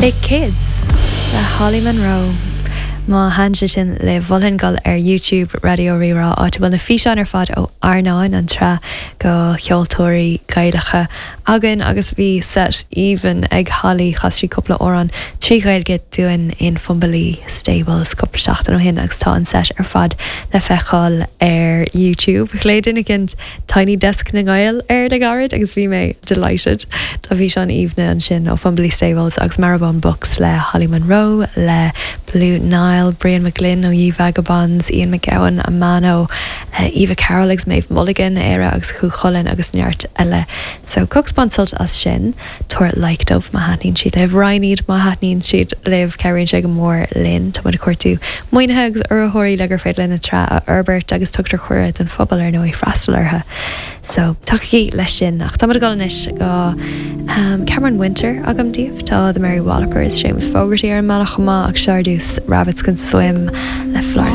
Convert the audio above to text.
Big Kids le Holly Monroe. Má thaitin sé sin libh, mholfainn dul ar YouTube Raidió Rí-Rá, áit a bhfuil na físeáin ar fad ó Airneán, an tsraith de cheoltóirí Gaelacha againn agus bhí set aoibhinn ag Holly, chas sí cúpla amhrán trí Ghaeilge dúinn in Fumbally Stables cúpla seachtain ó shin agus tá an set ar fad le feiceáil ar YouTube. Ghlaoigh duine éicint Tiny Desk na nGael air le gairid agus bhí mé delighted. Tá físeáin aoibhne ansin ó Fumbally Stables agus Marrowbone Books le Holly Monroe, le Blue Niall, Brian McGlynn ó Ye Vagabonds, Ian McGowan, Amano, Eva Carroll agus Maeve Mulligan, Éire agus Cú Chulainn agus neart eile. So cogar bain sult as sin. Tabhair like dóibh má thaitníonn siad libh. Roinn iad má thaitníonn siad libh. Cabhraíonn sé go mór linn. Tá muid ag cuartú maoinithe agus urraitheoirí le gur féidir linn an tsraith a fhorbairt agus tugtar cuireadh don phobal ar ndóigh freastal orthu. So tacaigí leis sin. Ach tá muid ag dul anois go Cameron Winter agam daoibh. Tá The Mary Wallopers, Séamus Fogarty ar an mbealach chomh maith ach seo ar dtús Rabbits Can Swim le Florence.